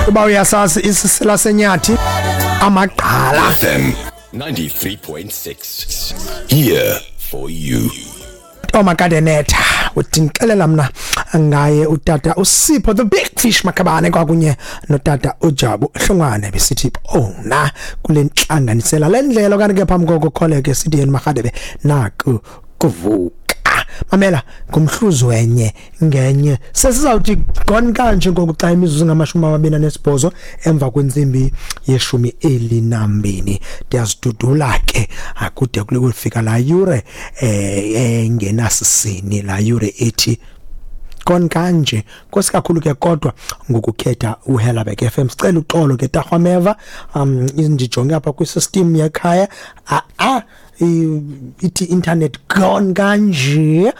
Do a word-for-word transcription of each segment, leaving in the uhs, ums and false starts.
Uba uyasazi isisela senyathi amagqala. F M ninety-three point six. Here for you. Omakadenetha uthi ngixelela mna ngaye utata uSipho the Big Fish Makhabane kwakunye notata uJabu Hlongwane besithi ona kule nhlanganisela lendlela kanti ke phambi koko kholeke sithi yena Makgadebe naku kuvuka. Mamela ngumhluzi wenye ngenye sesizawuthi gone kanje ngoku xa imizuzu ngamashumi amabini anesibhozo emva kwentsimbi yeshumi elinambini. Ndiyazidudula ke akude kule kufika la yure eh engenasisini la yure ethi gone kanje. Nkosi kakhulu ke kodwa ngokukhetha uHelabek F M. Sicela uxolo ke Tarhwameva, um ndijonge apha kwi-system yekhaya a a ithi internet gone kanje,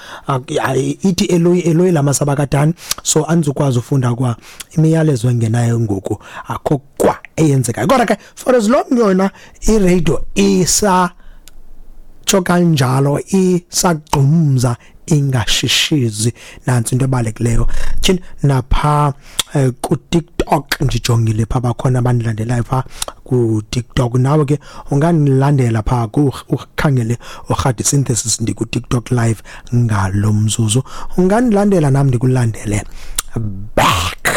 ithi Eloyi Eloyi lamasabakadani, so andizukwazi ufunda kwa imiyalezo engenayo ngoku akho kwa eyenzekayo. Kodwa ke for as long yona i-radio isa tsho kanjalo isagqumza ingashishizi, nansi into ebalulekileyo. Tyhini napha eh, ku TikTok ndijongile pha bakhona abandilandelayo pha ku TikTok. Nawe ke ungandilandela pha ku ukhangele uRhadi Synthesis, ndiku TikTok live ngalo mzuzu. Ungandilandela nam ndikulandele back.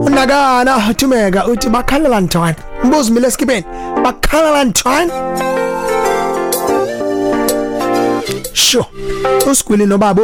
Unakana Thumeka uthi bakhalela ntoni? Mbuzo mile eskipeni. Bakhalela ntoni? Sure. Usigwili nobabo.